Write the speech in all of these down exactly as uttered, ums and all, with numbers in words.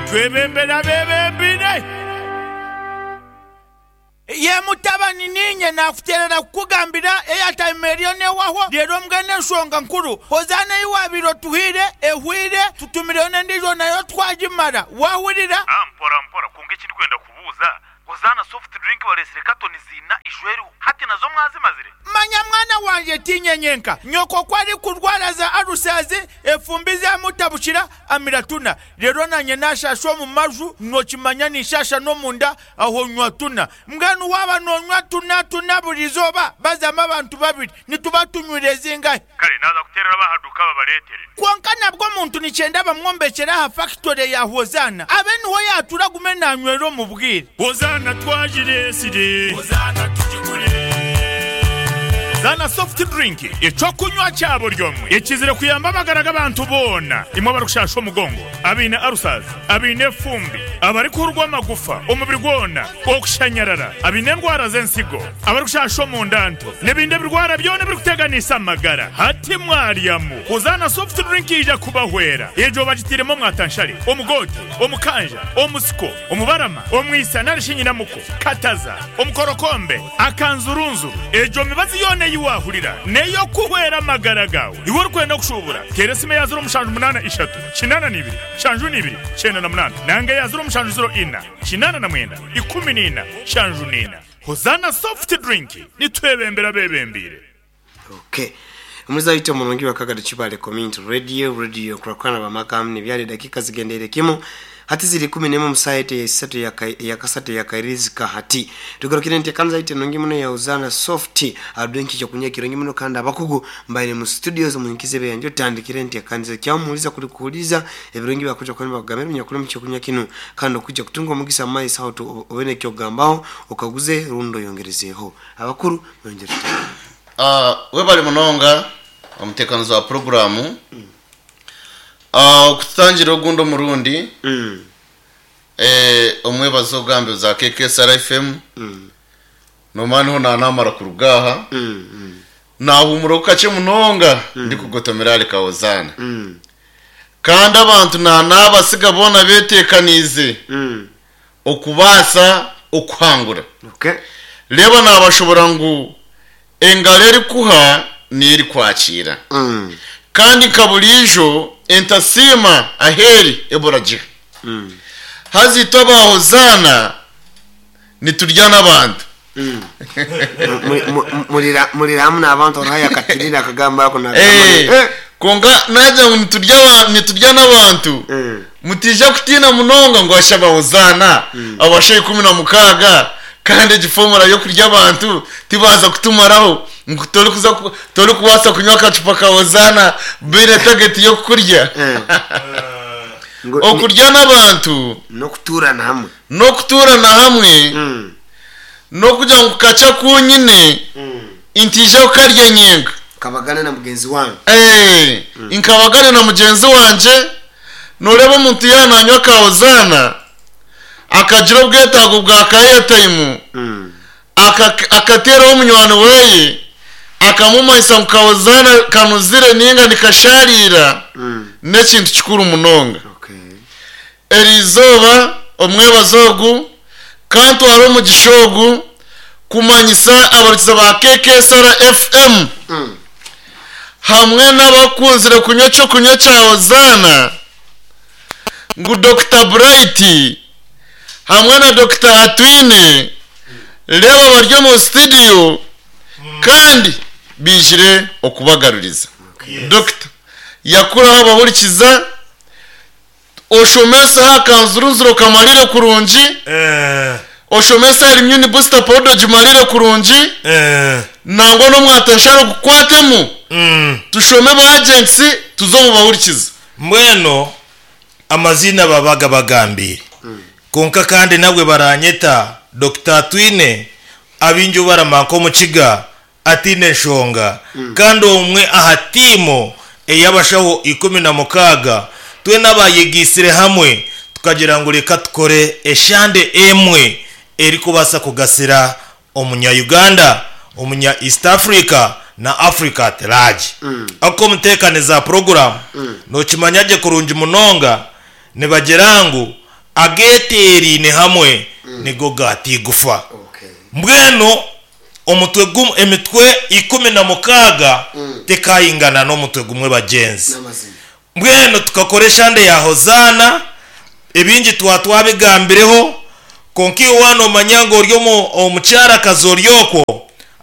Nitwebembera abebembeire. Ye mutabani niinye naakuteerera kukugambira airtime eriyo neehwaho reero mbwenu enshonga nkuru Hozaana ei waabaire otuhaire ehweire tutumireyo n'endiijo nayo twagimara. Waahurira? Ah mpora mpora kwonka eki ndikwenda kubuuza, Hozaana soft drink bareetsire katoni ziina ijo eriho hati nazo mwazimazire? Manya mwana wangye tiinye nyenka, nyoko ku arikurwara za alusazi, efumbi zamutabukira, amira tuna. Reero naanye naashaasha omu maju, nookimanya ninshaasha n'omunda, aho nywa tuna. Mbwenu waaba noonywa tuna tuna buri izooba, bazamu abantu babiri, nituba tunywire zingahi? Kare naaza kuteerera ab'aha duuka babareetere. Kwonka nabwo omuntu nikyenda bamwombekyere aha fakitore ya Hozaana, abe niho yaatuura agume naanywera omu bwire. Hozaana twagireetsire. Hozaana tugigure. Hozaana soft drink, eky'okunywa kya buri omwe ekizire kuyamba amagara g'abantu boona. Imwe abarikushasha omugongo, abaine ulcers, abaine efumbi, abarikuhurwa amagufa omubiri gwona, okushanyarara, abaine endwara z'ensigo, abarikushasha omunda nto, n'ebindi ebirwara byona ebirikuteganisa amagara. Hati mwaryamu, Hozaana soft drink yaija kubahwera. Egyo bagitairemu omwatanshare, omugoote, omukanja, omusiko, omubarama, omwisa nari shi nyinamuko, kataza, omukorokombe, akanzurunzuru. Egyo mibazi yoona ei waahurira n'ey'okuhwera amagara gaawe. Iwe orikwenda kushuubura, teera esimu eya ziro mushanju munaana ishatu, kinaana na ibiri, nshanju na ibiri, kyenda na munaana nanga eya ziro mushanju ziro ina, kinaana na mwenda, ikumi na ina, nshanju na ina. Hozaana soft drink, nitwebembera abeebembeire. Okay. Omuzaito omurungi wa Kagado Kibale Community Radio, Radio kurakurana bamakamu nibyali dakika zigendere kimu hati ziri kumi n'emwe musaete ya isatu ya kasatu ya kairizika hati tugarukire nti kanza ite nungi muno ya Hozaana soft adwenki kyo kunya kirungi muno kandi abakugu mbaire mu studios munkize beyanjo tandikire nti kanza kyamuuliza kuli kuuliza ebirungi bakuja kwani bakugamira nyakula mu kyokunya kinu kandi okujja kutunga omugisa mu maiso aho obene kyogambaho okaguze rundo yongerezeho abakuru yongereze. Ah, webale munonga omutekanizi wa programu. Mm. Ah, okutangira ogundi omurundi. Mm. Eh, omwebazo ogambe za K K S R F M. Mm. Nomaniho nanamara kurugaha. Mm. Mm. Nahumura okache munonga Mm. ndikugotomera aleka Hozaana. Mm. Kandi abantu nanabasiga bona betekanize. Mm. Okubasa okuhangura. Okay. Leba nabashobora ngu engalo erikuha neri kwakira. Mm. Kandi kabulijo entasima aheri eboraje. Mm. Hazito ba Hozaana niturya n'abantu. Mm. Mulira mulira hamwe n'abantu oraya katirira akagamba ako na Eh, eh. Konga naja niturya niturya n'abantu. Mm. Mutija kutina munonga ngo ashaba Hozaana Mm. abashe ikumi na mukaga kandi egifomora yo kurya abantu tibaza kutumaraho ngo tori kuza tori kubasa kunywa akacupa ka Hozaana bire target yo kurya. Eh. Okurya n'abantu no kuturana hamwe no kuturana hamwe mm. no kuja ngo kaca kunyine mm. intije ukarya nyenga kabagana na mugenzi wange eh mm. Inkabagana na mugenzi wanje noreba omuntu yananywa ka Hozaana akagira obwetago bwa ka airtime mm. akateraho omunywani weye akamumanyisa ngu ka Hozaana kanuzire ninga nikasharira mm. n'ekintu kikuru munonga. Okay. Eriizooba omwebazo ogu kantwara omugisha ogu kumanyisa abarikiza ba K K S R F M mm. hamwe n'abakunzire kunywa ekyokunywa kya Hozaana ngu Doctor Bright hamwe na Doctor Atwine reba bari mu studio kandi bijire okubagaruriza. Okay. Doctor yakuraho abahurikiza oshomesa akanzuruzuro kamarire kurungi eh oshomesa immune booster powder jimarire kurungi eh nangwa no mwatansharo kukwatemu mm. tushome ba agents tuzomubahurikiza mbweno amazina babaga bagambire mm. konka kandi nabwe baranyeta Doctor Atwine abinju baramanko omukiga atine nshonga mm. kandi omwe aha timu ey'abashaho ikumi na mukaga twe n'abayegisire hamwe tukagira ngu reka tukore eshande emwe erikubasa kugasira omunya Uganda, omunya East Africa na Africa at large. Mm. Ako mutekaniza program mm. nokimanya gye kurungi munonga nibagira ngu Ageeteeraine hamwe nigo gaata igufa. Okay. Mbwenu omutwe gumwe, emitwe ikumi na mukaaga tekayingana n'omutwe gumwe bagyenzi. N'amazima. Mbwenu tukakora eshande ya Hozaana, ebingi twa twabigambireho, konka iwe waana omanya ngu ori omu- omukyarakazi ori okwo,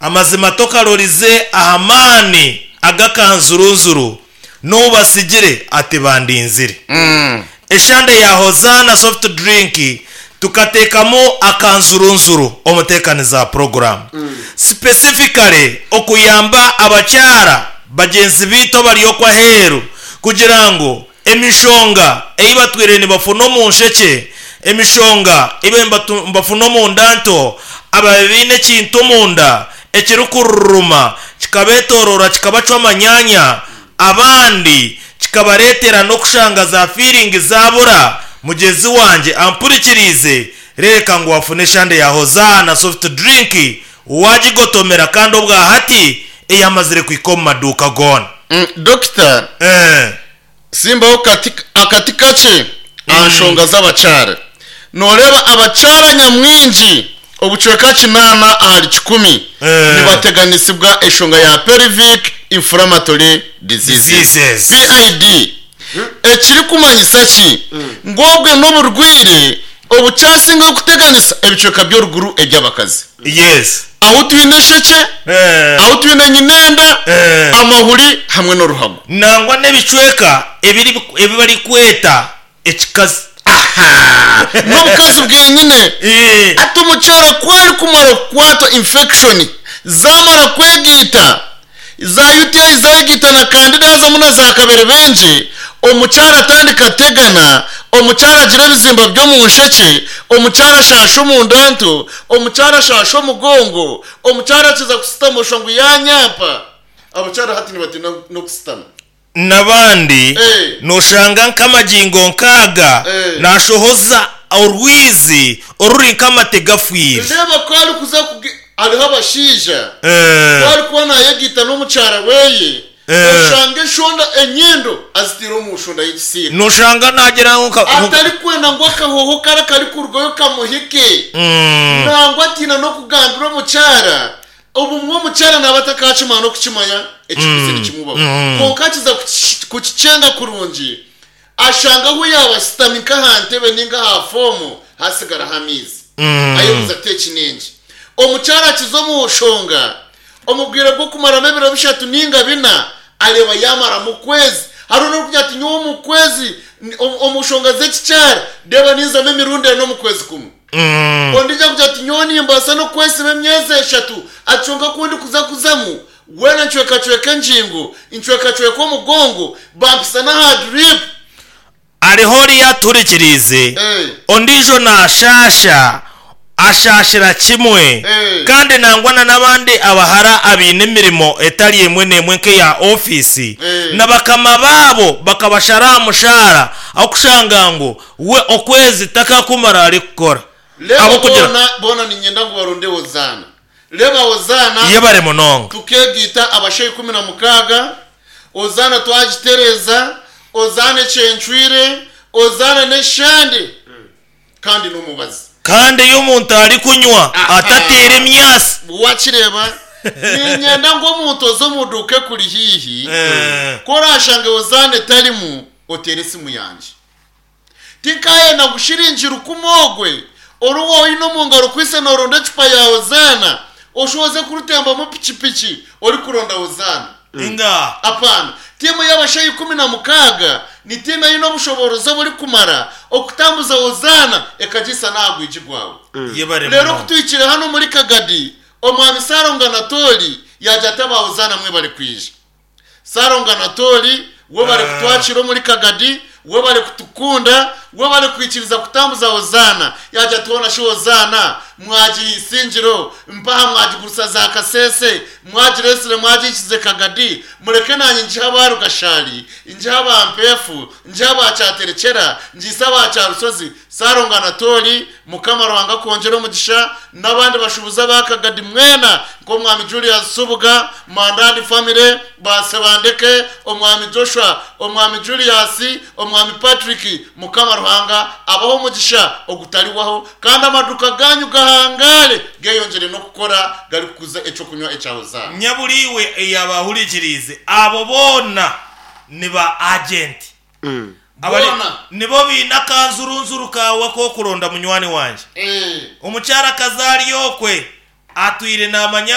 amazima tokarorize aha maani agakanzurunzuru n'obasigire ati bandinzire. Eshande ya Hozaana soft drink tukateekamu akanzurunzuru omuteekaniza program, specifically okuyamba abakyara bagyenzi biitu abari okwo aheeru kugira ngu emishonga ei batwire nibafuna omu nshekye, emishonga ei batu- nibafuna omu nda nto, ababe baine ekintu omunda ekirikururuma kikabeetorora kikabacwa amanyanya, abandi kikabareetera n'okushanga za feeling zabura. Mugyenzi wangye ampurikiriize, reeka ngu wafuna eshande ya Hozaana soft drink wagigotomera, kandi obwa hati eyamazire kuhika omu maduuka goona. Mm, dokita Eh, simbaho kati akati kakye aha nshonga z'abakyara. Noreeba abakyara nyamwingi obucweka kinaana ahari kikumi Eh. nibateganisibwa eshonga ya pelvic inflammatory diseases, Diseases. P I D. Ekirikumanyisa ki? Ngobwe n'oburwire obukyasinga kuteganisa ebicweka by'oruguru eby'abakazi, yes aho twine esheke, Eh, aho twine nyinenda, Eh. amahuri hamwe n'oruhago. Nangwa n'ebicweka ebiri ebi barikweta ekikazi. N'obukazi bwenyine. Eh, ati omukyara kwari kumara kukwatwa infection, zamara kwegiita za U T I, zayegita na candida, hazamu na za kabere bengi, omukyara atandika ategana, omukyara agira ebizimba byo mu nsheke, omukyara ashasha omunda nto, omukyara ashasha omugongo, omukyara akiza kusitama osha ngu yanyampa. Abakyara hati nibatina n'okusitama. N'abandi Eh. noshanga nk'amagingo nkaaga Eh. nashohoza orwizi oruri nk'amate gafwire. Reba ko ari kuza kuge- hariho abashaija Eh, ko ari kuba nayegita n'omukyara weye, Eh. oshanga eshonda enyindo azitire omu nshonda y'ekisiika. Noshanga nagira ngu nka- Atari kwenda ngu akahoho kara kari kurugayo kamuhike. Mm, nangwa atiina n'okugambira omukyara. Obumwe omukyara naaba atakakimanya n'okukimanya ekikuzi nikimubaho, konka akiza kuki- kukicenga kurungi, ashanga ahu yaaba asitami nk'aha ntebe ninga aha fomu hasigaraho amaizi, ayebuza ati eki ningi. Omukyara akiza omu nshonga omubwire bw'okumaramu ebiro bishatu ninga bina, areba yamaramu okwezi. Hariho n'okugira ati nyowe omu kwezi ni- omu omu nshonga z'ekikyara ndeba ninzamu emirundi ena omu kwezi kumwe. mm. Ondija kugira ati nyowe nimbaasa n'okwesiba emyezi eshatu, acunga kundi kuza kuzamu wena ncwekacweka engingo, ncwekacweka omugongo, bampisa n'aha drip. Ariho oriya aturikiriize, Eh. ondiijo nashasha ashashira kimwe, Eh. kandi nangwa na n'abandi abahara abaine emirimo etari emwe n'emwe nk'eya ofiisi, Eh. na bakama baabo bakabashara aha mushahara, aho kushanga ngu we okwezi takakumara ari kukora. Reba Ahabw'okugira boona boona ninyenda ngu barunde Hozaana. Reba Hozaana, yebare munonga. tukegiita abashaija ikumi na mukaaga. Ozaana twagitereza, Ozaana ekyencwire, Ozaana n'eshande kandi n'omubazi. Kandi iyo omuntu ari kunywa atateera emyasi. Wakireba, ninyenda ngu omuntu oze omu duuka ekuri hiihi, Eh. ko orashange Ozaana etarimu, otere esimu yangye. Tinkayenda ngushiringira ukumogwe oruwa oine omu ngaro kwise noronda ecupa ya Ozaana, oshoze kurutembamu pikipiki ori kuronda Ozaana. Inga. Apana. Tiimu y'abashaija ikumi na mukaaga ni tiimu eine obushoborozi oburikumara okutambuza Ozaana ekagisa n'aha gwigi gwawe. Yebare Rero munonga. kutwikire hano muri Kagadi, omwami Saronga Natori yajya ataba Ozaana mwe bari kwija. Saronga Natori we bari kutwakira muri Kagadi, we bari kutukunda, we bari kwikiriza kutambuza Ozaana. Yajya tubona shi Ozaana mwagiye isingiro mpaha, mwagigurusa za Kasese, mwagiresire, mwagikize Kagadi, mureke nanjye njiha abarugashari, njiha abampefu, njiha abacyaterekera, njise abacyarusozi. Saronga Natori, Mukama Ruhanga kongera omugisha n'abandi bashubuza ba Kagadi mwena, nk'omwami Julius Subuga, Mandandi family, Basebandeke, omwami Joshua, omwami Julius, omwami Patrick. Mukama Ruhanga. Ruhanga abaho omugisha ogutariwaho, kandi amaduka ganyu gahangare geyongere n'okukora gari kukuza ekyokunywa ekya Hozaana. Nyaburiwe eyabahurikirize abo boona ni ba agenti Abari- Boona. nibo biine akanzurunzuru kawe k'okuronda munywani wanje. Eh. Omukyara kazaari okwe atwire namanya.